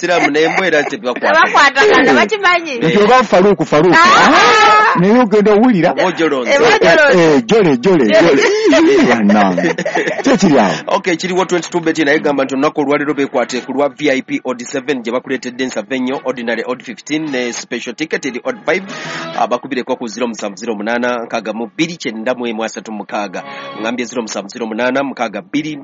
Musiraamu n'embwa era tebakwatagana. Tebakwatagana, bakimanyi. Nti oba Faruku, Faruku. Ah! Naye ogenda owulira. Oba ojolonze. Oba ojolonze. Jole, jole, jole. Bannange. Ki ekiri awo? Okay, kiriwo 22 bet naye gamba nti olunaku olwaleero beekwate ku lwa VIP odd 7 gye bakuleetedde ensava ennyo, ordinary odd 15 ne special ticket eri odd 5. Bakubireko ku 0708 62 91 36. Ngambye 0708 62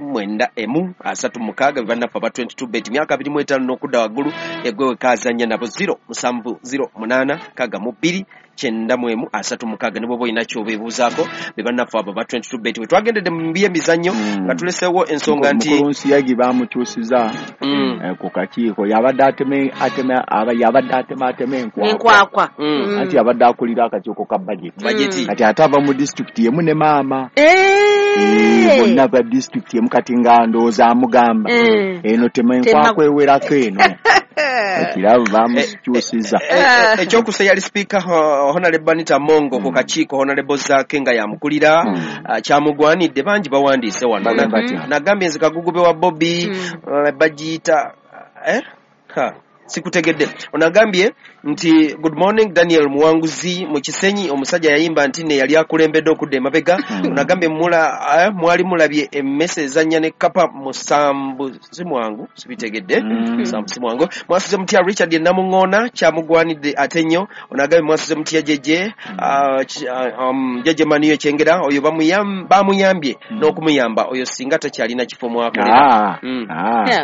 91 36, be bannaffe aba 22 bet, myaka 25 n'okudda waggulu, egwe wekaazannya nabo 0708 62 91 36. Ne bw'oba olina ky'obeebuuzaako, be bannaffe abo aba 22 bet. We twagendedde mu byemizannyo nga tuleseewo ensonga nti Mukulu Nsiyagi bamukyusiza ku kakiiko. Yabadde ateme ateme aba yabadde atema atema enkwakwa. Enkwakwa. Anti yabadde akulira akakiiko ka budget. Budget. Kati ate ava mu disitulikiti emu ne maama. Bonna ba disitulikiti emu, kati nga ndowooza amugamba eno tema enkwakwa ewerako eno. Ekirabo bamukyusiza. Ekyokusa yali sipiika Honorable Anita Among ku kakiiko, Honorable Zaake nga yamukulira. Kyamugwanidde, bangi bawandiise wano. Bagamba batya? Nagambye nze kagugube wa Bobi, bagiyita eh? Ha, sikutegedde. Onagambye nti good morning, Daniel Muwanguzi mu Kisenyi, omusajja yayimba nti ne yali akulembedde okudda emabega. Onagambye mula mwali mulabye emmese ezannya ne kapa musambu si mwangu, sibitegedde. Musambu si mwangu. Mwasuze mutya Richard Namuŋŋoona, kyamugwanidde ate nnyo. Onagambye mwasuze mutya jeje jeje Maniyo Kyengera, oyo bamuyambye n'okumuyamba oyo singa takyalina kifo mwakolera.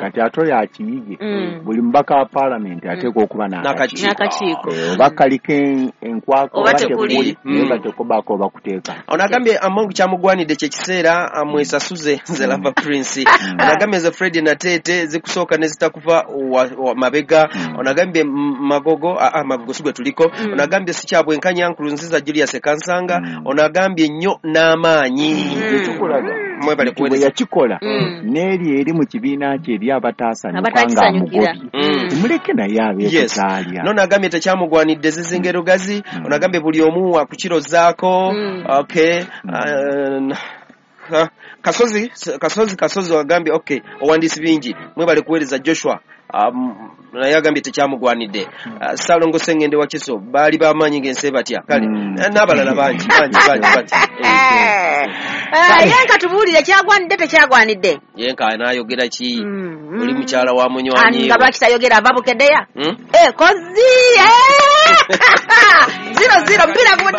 Kati ate oyo akiyige. Buli mubaka wa paalamenti ateekwa okuba n'akakiiko. N'akakiiko. Oba kaliko enkwako Oba oba tekuli. tekuli, naye batekobaako oba kuteeka. Ono agambye Among kyamugwanidde kyekiseera amwesasuze, nze Lava Prince. Ono agambye nze Fred Nateete, zikusooka ne zitakuva wa mabega. Ono agambye Magogo, Magogo si gwe tuliko. Ono agambye si kyabwenkanya, Nkurunziza Julius Kansanga. Ono agambye nnyo n'amaanyi. Ekikulaga Mwebale nti bwe kuweereza. yakikola n'eri eri mu kibiina kye eri abataasanyuka nga Abatakisanyukira. amugobye, tumuleke naye abeeko ky'alya. Nono agambye tekyamugwanidde zizinga erugazi. Ono agambye buli omu wakukirozaako. Okay. Kasozi, Kasozi, Kasozi agambye okay, owandiisi bingi, mwebale kuweereza Joshua. Naye agambye tekyamugwanidde. Salongo Sengende wa Kiso, baali bamaanyi ng'ensi ebatya. Kale n'abalala bangi bangi bangi bangi. Ye nka tubuulire, kyagwanidde tekyagwanidde? Ye nka anaayogera ki? Oli mukyala wa munywanyi. Nga lwaki tayogera, ava Bukeddeya? Hmm? Kozi 00 mpira gubudde.